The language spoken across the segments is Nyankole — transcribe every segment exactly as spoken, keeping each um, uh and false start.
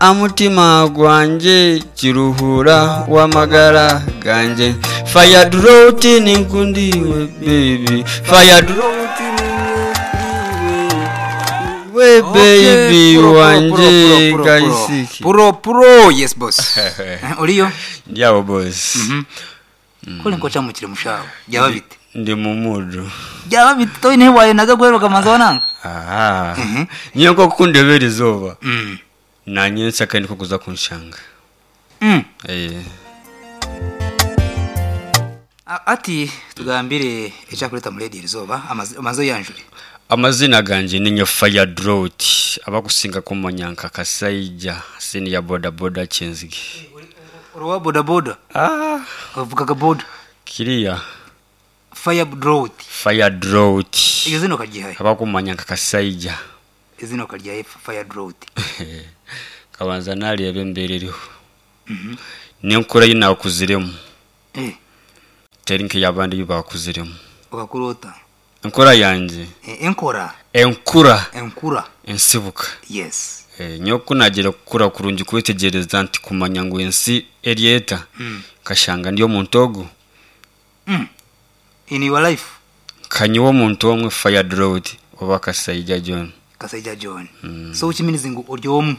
Amutima gwangye kiruhura w'amagara gangye. Fire drought ninkundiwe baby, fire drought we baby wanje kaisiki. Puro puro, yes boss. Eh, oriyo Ndyawo boss. Kole nkochamukire mushawo byaba bite? Ndi mu mudu. Byaba bite toine wayenaga gweruka manza wananga. Aha, niyo nko kundebera izooba Mm. nanye nsaka ndiko kuza kunshanga. Mm. Eh. A- ati tugambire ekyakuleta mu radio izooba amazo yanjure. Amazina ganje ninyo Fire Drought, abakusinga kumanya nka Kasaija senior boda boda Kyenzige. Uruwa boda boda? Ah. Uvugaga boda? Kiriya. Fire Drought. Fire Drought. Izina ukaryihaye? Abakumanya nka Kasaija. Izina ukaryihaye Fire Drought? Kabanza nareba embere eriho. Nenkura yi nakuziremu. Eh. Teri nk'eyabandi bakuziremu. Ukakurota? Enkura yangye. Eh, enkora. Enkura. Enkura. Ensibuka. Yes. Eh, nyowe nagira kukura kurungi kwetegyereza nti kumanya ngu ensi eryeta. Mm. Kashanga ndi omuntu ogu. Mm. In your life. Kanyiwe omuntu omwe Fire Drought oba Kasaija John. Kasaija John. Mm. So ukiminizi ngu ori omwe?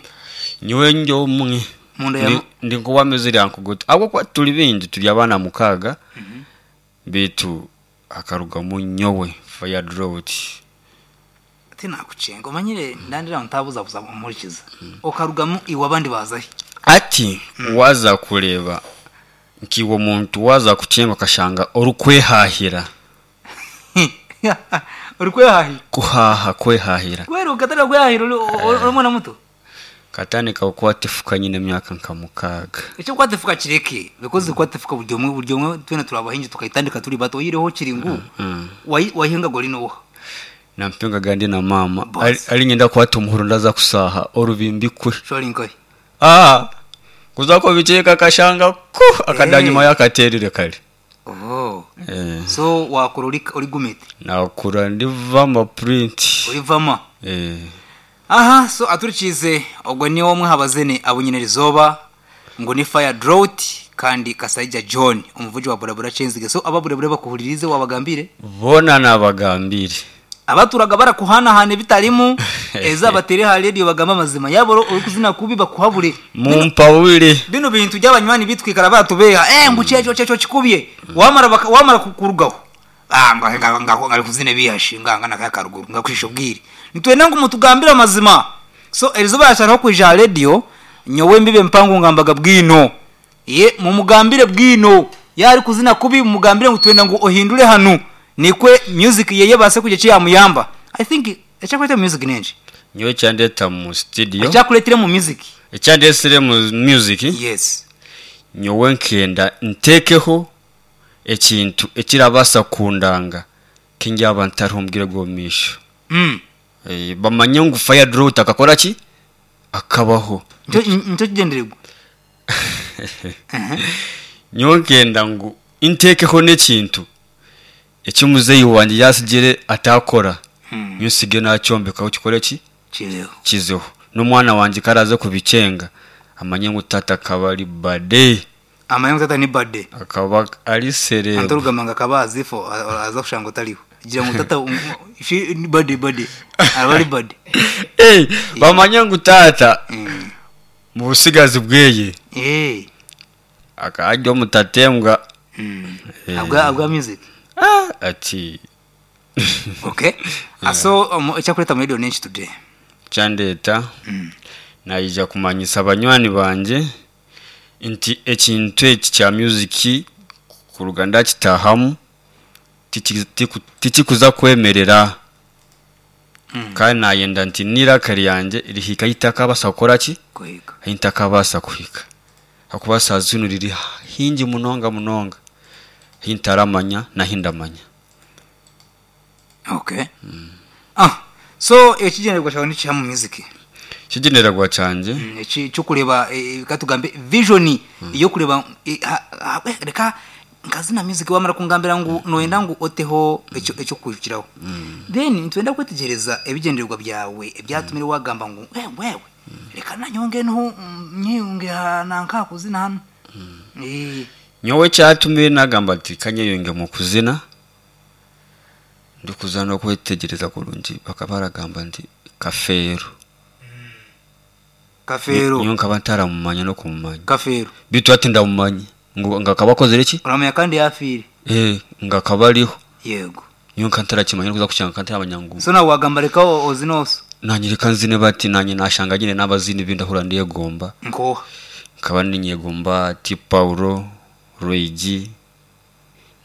Nyowe ndi omwe. Munda ya Ndi, ndi nkuwameze yankuguta. Abo kwa tuli bingi tuli abaana mukaaga. Mm -hmm. Bitu akarugamu nyowe Fire Drought. Tinakucenga omanyire ndandira ntabuza buza umurikiza. Mm. Okarugamu iwe abandi bazahi. Ati mm. waza kureba nkiwo muntu waza kucenga kashanga orukwehahira. Orukwehahira? Kuhaha kwehahira. Kwero ukatara kwehahira uri mwana muto. Katani kawukwatefuka nyine emyaka nka mukaaga. Icyo kwatefuka kireke because kwatefuka buryo mwe buryo mwe twena turabahinji tukayitandika turi bato yireho kiringu. Mm. Wahinga gori no. Nampinga gandi na mama ali ngenda kwata umuhuru ndaza kusaha orubimbi kwe. Shori nkoyi. Ah. Kuzako bicheka kashanga ku akadanyuma yakaterire kale. Oh. Eh. So wakura uri uri gumete. Nakura ndivama print. Urivama. Eh. Aha, so aturikize ogwo ni omwe habazene abunyene rizoba ngo ni Fire Drought kandi Kasaija John umuvuji wa boda boda Kyenzige. So ababurabura bakuhuririze wabagambire? Bona nabagambire. Abaturaga barakuhanahana bitarimu eza batere ha radio bagamba amazima yabo uri kuzina kubi bakuhabure. Mumpawire. Bino bintu by'abanywani bitwikara batubeha eh ngo cyeco cyeco kikubye wamara wamara kukurugaho. Ah ngo ngo ngari kuzine bihashinga ngana kaya karuguru ngakwisho bwire. Nitwenda ngo mutugambira amazima. So erizuba yasharaho kuja radio nyowe mbibe mpango ngambaga bwino. Ye mumugambire bwino yari kuzina kubi mumugambire ngo twenda ngo ohindure hanu. Nikwe music yeye base kuje chiya muyamba. I think echakuleta music nenje. Nyowe chandeta mu studio. Echakuletire mu music. Echandesire mu music. Yes. Nyowe nkenda ntekeho ekintu ekirabasa kundanga kinjaba ntarumbwire gomisho. Mm. Eh bamanye ngu Fire Drought akakora ki? Akabaho. Ncho ncho kigendererwa. Nyowe nkenda ngu ntekeho n'ekintu ekimuzeyi wanje yasigire atakora. Mm. Nyusige nacyombeka ukikore ki? Kizeho. Kizeho. N'umwana wanje karaza kubicenga amanye ngu tata kabari bade. Amanye ngu tata ni bade. Akaba ari serebo. Antorugamanga kabazi fo aza kushango taliho. Gira ngu tata ifi ni bade bade. Abari bade. Eh, bamanye ngu tata. Mm. Mu busigazi bweye. Eh. Akajya mutatembwa. Mm. Eh. Abwa abwa music. Ah, ati. Okay. Yeah. So um, echakuleta mu radio nenshi today. Chandeta. Mm. Naija kumanyisa abanywani banje nti ekintu eki kya music ku ruganda kitahamu tikikuza kwemerera. Mm. Kandi nayenda nti nirakari yanje rihika itakabasa gukora ki? Kuhika. Intakabasa kuhika. Hakubasa zinu riri hingi munonga munonga. Hintaramanya na hindamanya. Okay. Mm. Ah, so ekigendererwa cyawe ni cya mu music. Kigendererwa cyanje? Mm, eki cyo kureba e, katugambe vision mm. iyo kureba e, ha, ha, reka nkazina music wamara kungambira ngu mm. noenda ngu oteho ekyo ekyo kujiraho. Mm. Then ntwenda kwetegereza ebigendererwa byawe ebyatumire wagamba ngu wewe wewe Reka nanyonge niho nyiyunge nanka kuzina hano. Eh. Nyowe kyatumire nagamba ati kanyeyonge mu kuzina, ndikuza n'okwetegereza kurungi, bakaba baragamba nti Kafeero. Kafeero. Nyowe nkaba ntaramumanya n'okumumanya. Kafeero. Bitu ati ndamumanya ngu ngakaba akozire ki? Uramenya kandi yafiire. Eh, ngakaba ariho. Yego. Nyowe nka ntarakimanya, kuza kukyanga ntaramanya ngu. So nawe wagamba reka ozina oso. Nanye reka nzine bati nanye nashanga nyine n'abazini bindahura ndiyegomba. Nkoha. Nkaba ninyegomba T Paulo, Roigi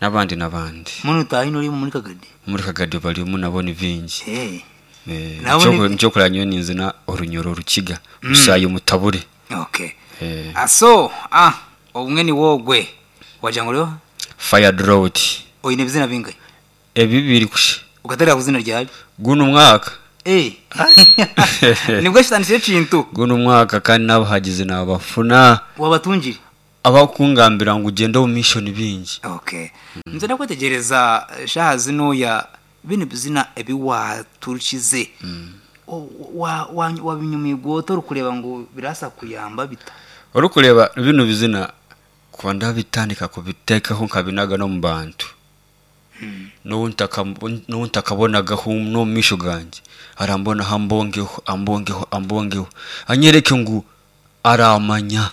n'abandi n'abandi. Muno tahino uri muri Kagadi. Muri Kagadi barimu nabo ni bingi. Eh. Eh, Nabo ni- nicyo kuranya nyowe ninzina orunyoro rukiga rusayo mutabure. Okay. Eh, Aso ah obumwe ni wogwe. Wagira ngo rero Fire Drought. oyine bizina bingahe? Ebi biri kushe. Ugatera kuzina ryawe. Guno mwaka. Eh. Nibwo shitanishe kintu. Guno mwaka kandi nabahagize nabafuna Wabatungire. abakungambira ngo ugende mu mission bingi. Okay. Nze ndakwetegereza shaha zino ya bino bizina ebiwaturukize. Wa wa wabinyumigwa otori kureba ngo birasa kuyamba bita. Ori kureba bino bizina kuba ndabitandika kubitekaho nkabinaga no mu bantu. N'ubu no mu misho gange arambona ambongeho ambongeho ambongeho anyereke ngu aramanya.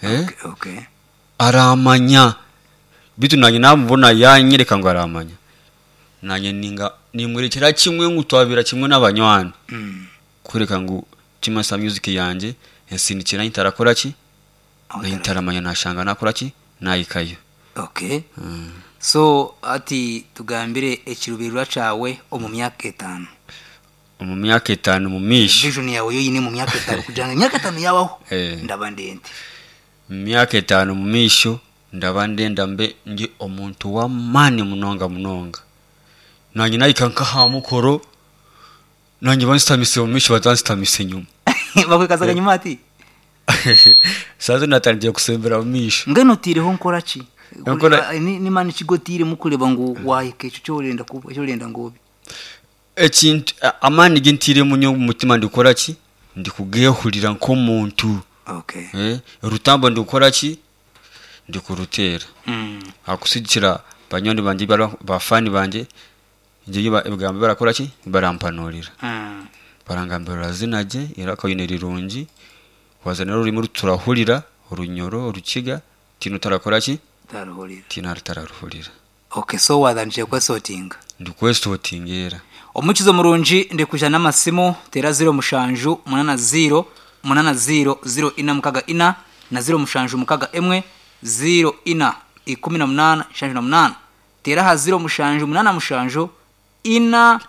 Eh? Okay, okay. Aramanya bitu nanye namubona yanyereka ngo aramanya, nanye ninga nimwerekera kimwe ngutwabira kimwe n'abanywani. Mm. Kureka ngu Kimasa Music yanje ensindikira ntarakora ki Aho ntaramanya nashanga nakora ki nayikayo. Okay. Mm. So ati tugambire ekirubirwa cawe omu myaka etanu. Mu myaka etanu mu misho. Vision yawe yo yine mu myaka etanu kugira ngo imyaka etanu yabaho. Eh. Ndaba ndende. Mu myaka etanu mu misho ndaba ndenda mbe ndi omuntu w'amaani munonga munonga. Nanye nayika nkaha mukoro nanye bansitamise mu misho batansitamise nyuma. Bakwekazaga nyuma ati Sazo natangiye kusembera mu misho. ngeno tireho nkora ki? Nkora- Ni ni mani kigotire mukureba ngo wahike icyo cyorenda kuba cyorenda ngo Ekintu amaani gintire munyo mu mutima ndikora ki? Ndikugehurira nk'omuntu. Okay. Eh, rutambo ndikora ki? Ndikurutera. Mm. Akusigikira banywani banje bara- bafani banje nje ebigambo barakora ki? Barampanurira. Mm. Barangambira zinaje era kayine rirungi wazana rurimi ruturahurira urunyoro urukiga tino tarakora ki? Taruhurira. Tino tararuhurira. Okay, so wadanije kwesotinga. Ndikwesotingera. Omukizo murungi ndikuja n'amasimu tera zero mushanju munana zero munana zero zero ina mukaga ina na zero mushanju mukaga emwe zero ina ikumi na munana shanju na munana tera ha zero mushanju munana mushanju ina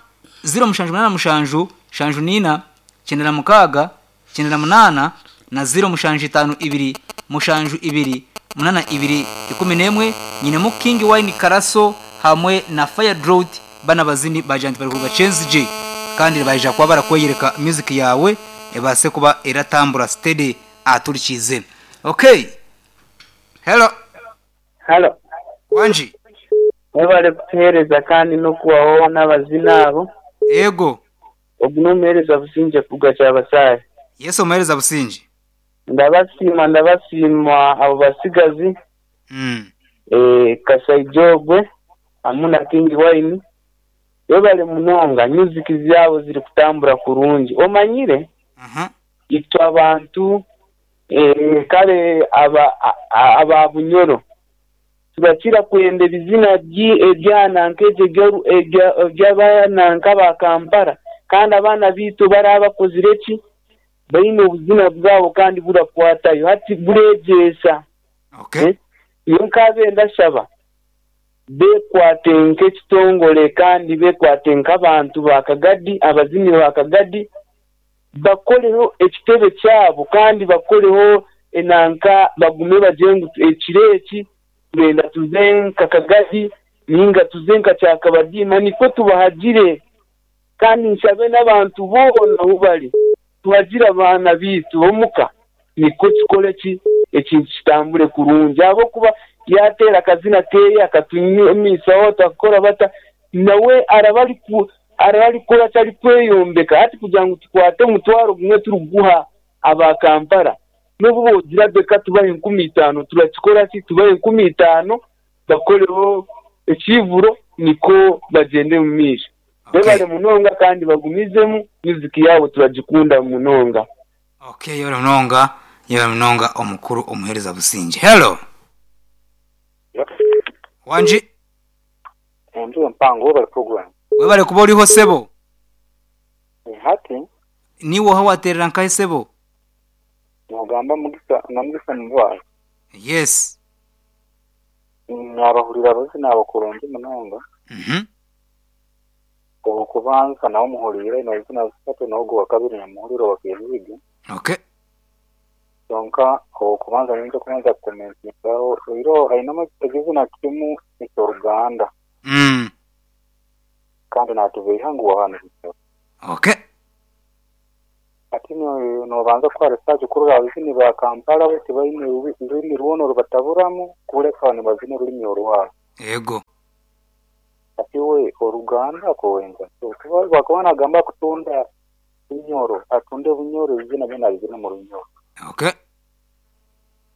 zero mushanju munana mushanju shanju nina cyenda na mukaga cyenda na munana na zero mushanju itanu ibiri mushanju ibiri munana ibiri ikumi n'emwe nyine mu King Wine Karaso hamwe na Fire Drought bana bazini bajanti bari kuruga Chenzi J kandi baje kuba barakweyereka music yawe ebase kuba eratambura steady aturikize. Okay. Hello. Halo. Wanji. Mwebale kutuheereza kandi n'okubaho n'abazina abo. Ego. Ogu n'omuheereza Businge kuruga Kyabasare. Yesu omuheereza Businge. Ndabasiima ndabasiima abo basigazi. Mm. Eh, Kasaijogwe hamwe na King Wine. Webale munonga music zabo ziri kutambura kurungi. Omanyire? Aha. Itwe abantu eh, kale aba aba Bunyoro tubakira kwenda ebizina ebyananka ebyo ebyabananka ba Kampala kandi abaana bitu barabakozire ki baine obuzina bwabo kandi burakwatayo hati bureegyesa. Okay. Iyo nkabe ndashaba bekwate nk'ekitongole kandi bekwate nk'abantu ba Kagadi, abazini ba Kagadi bakoreho ekitebe kyabo kandi bakoreho enanka bagume bagire ngu ekiro eki turenda tuze nka Kagadi ninga tuze nka Kyakabadiima niko tubahagire kandi nshabe n'abantu boona ahu bari tuhagire abaana biitu omuka niko kikore ki ekintu kitambure kurungi ahabw'okuba yatera akazina keeye akatunyumisaho takukora bata nawe araba Hariho arikukora ki arikweyombeka hati kugira ngu tukwate omutwaro gumwe turikuguha aba Kampala n'obu bogira beka tubahe enkumi itaano turakikora ki tubahe enkumi itaano bakoreho ekivuro niko bagyende omu maisho. Okay. Bebare munonga kandi bagumizemu music yaabo turagikunda munonga. Okay, yebare munonga, yebare munonga omukuru omuhereza Businge. Hello. Wanji, Enju empango bari program. webare kuba oriho sebo. Hati Niwe oha waterera nkahe sebo? nogamba mugisa na mugisa nibwa Yes. nabahurira bose nabakurungi munonga Mhm. okubanza nawo muhurire nozina zisatu nogo wa kabiri namuhuriro wakebiga Okay. donka okubanza ninja kubanza kumentingaho iro hainamo ekizina kimu ekyoruganda Mm. kandi natubeiha ngu wahanu Okay. ati no- nobanza kwa research kurora abazini ba Kampala bo tibaine ubi- ururimi rwono rubataburamu kureka nibazina ururimi orwabo Ego. ati we oruganda kowenza so bakaba nagamba kutunda bunyoro atunde bunyoro izina byona bizina mu runyoro Okay.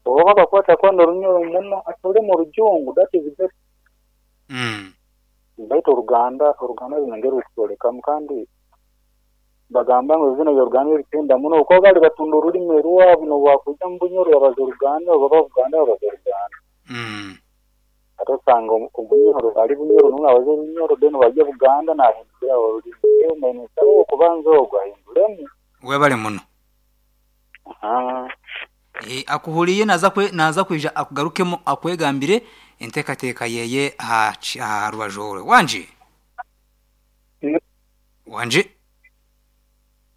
oba bakwata kwanda orunyoro muno atole mu rujungu that is best Mm. baitu oruganda oruganda runongera rukusolekamu kandi bagamba ngu izina rya ritenda muno uko bali batunda ururimi rwabo nobwakuja mu bunyoro babaza oruganda baba buganda babaza oruganda Mm. ate osanga omu- obunyoro ali bunyoro numwe abaza orunyoro then bajya buganda nahindura orurimi eyo okubanza ogwo ahinduremu Webare muno. Ah, Eh, akuhuriye naza kwe naza kwija akugarukemo akwegambire entekateka yeye ha chi- ha rubajore. Wanji. Wanji.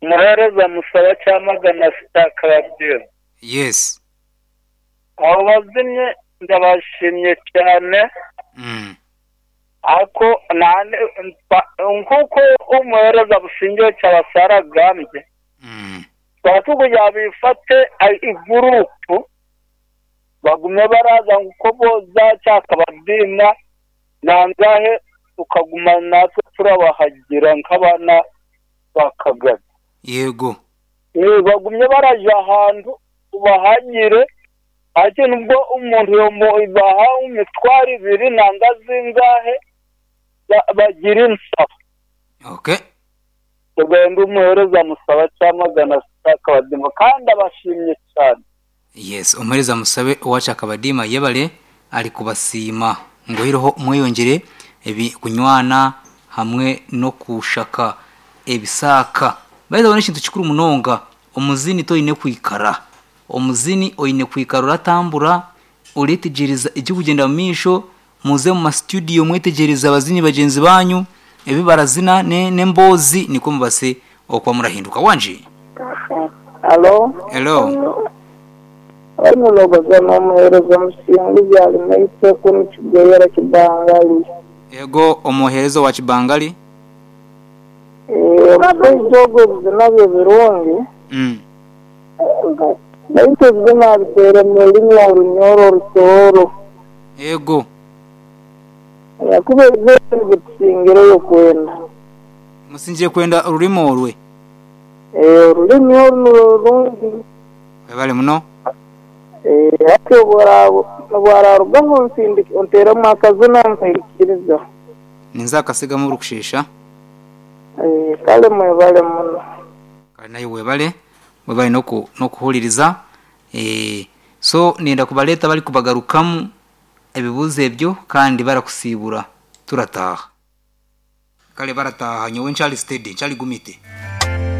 Muhereza musaba cyamagana sitakababwira Yes. abo bazimye ndabashimye cyane Mm. ariko nane mpa- nkuko umuhereza Businge cyabasara agambye Mm. twatukugira bifate ai- igurupu bagume baraza nkuko boza cyakabadina nangahe tukaguma natwe turabahagira nk'abana ba Kagame Yego. Eh, bagumye baraja ahantu ubahagire ati nubwo umuntu yomubaha imitwaro ibiri nanga zingahe ba- bagira insaba Okay. tugenda umuhereza musaba cyamagana akabadima kandi abashimye cyane Yes, umuhereza musabe owacha akabadima yebale ari kubasiima ngo hiroho mweyongere ebi kunywana hamwe no kushaka ebisaka. Baiza bona ekintu kikuru munonga omuzini toine kwikara. Omuzini oine kwikara uratambura uretegereza ekikugenda mu maisho muze mu mastudio mwetegereza abazini bagenzi banyu ebi barazina ne n'emboozi niko mubase okuba murahinduka. Wanji. Alo, Hello. abanyulogoza n'omuheereza Musinguzi ali maiteko nikigoyera Kibangali. Ego omuheereza wa Kibangali. Eh, omushaija ogwo ebizina bye birungi, Mm. baitu ebizina abiteere mu rurimi orunyoro orutooro. Ego. Yakuba ebizina bitusingireyo kwenda. Musingiye kwenda orurimi orwe. Eh, orurimi oru nirwo rurungi. Webale muno. Eh, hati obwararugaho nsindika onteeremu akazina nkaikiriza. Ninza akasigamu orukushesha. Eh, kale mwebale muno. Kale naye webale. Webale noku nokuhuliriza. Eh, so nenda kubaleta bali kubagarukamu ebibuzo ebyo kandi barakusibura turataha. Kale barataha nyowe nchali steady nchali gumite.